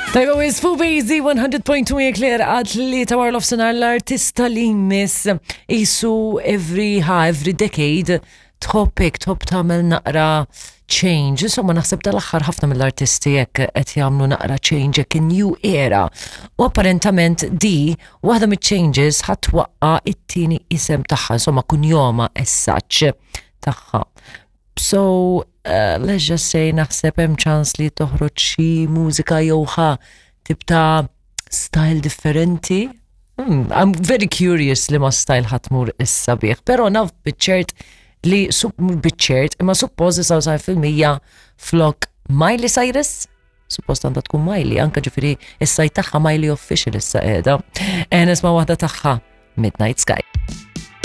Tajba wis fuq Bejzi 100.2 Eclair għad li ta' warlof senar l-artista li jmiss isu every ha every decade tħobb hekk tħobb tagħmel naqra change. Insomma naħseb dal-aħħar ħafna mill-artisti hekk qed jagħmlu naqra change hekk new era. U apparentament di waħda miċ-changes ħadd waqqa it-tieni isem tagħha, insomma kunjoma as such tagħha. So, uh, let's just say naħseb hemm ċans li toħroġ xi mużika jew ħa tip ta' style differenti. Hmm, I'm very curious li ma style ħatmur issa bih, pero naf biċ-ċert li biċ-ċert imma suppost 99% flok Miley Cyrus suppost għandha tkun Miley, anka ġifiri is-sajt tagħha Miley Official issa qiegħda. Eh, nisma' waħda tagħha Midnight Sky.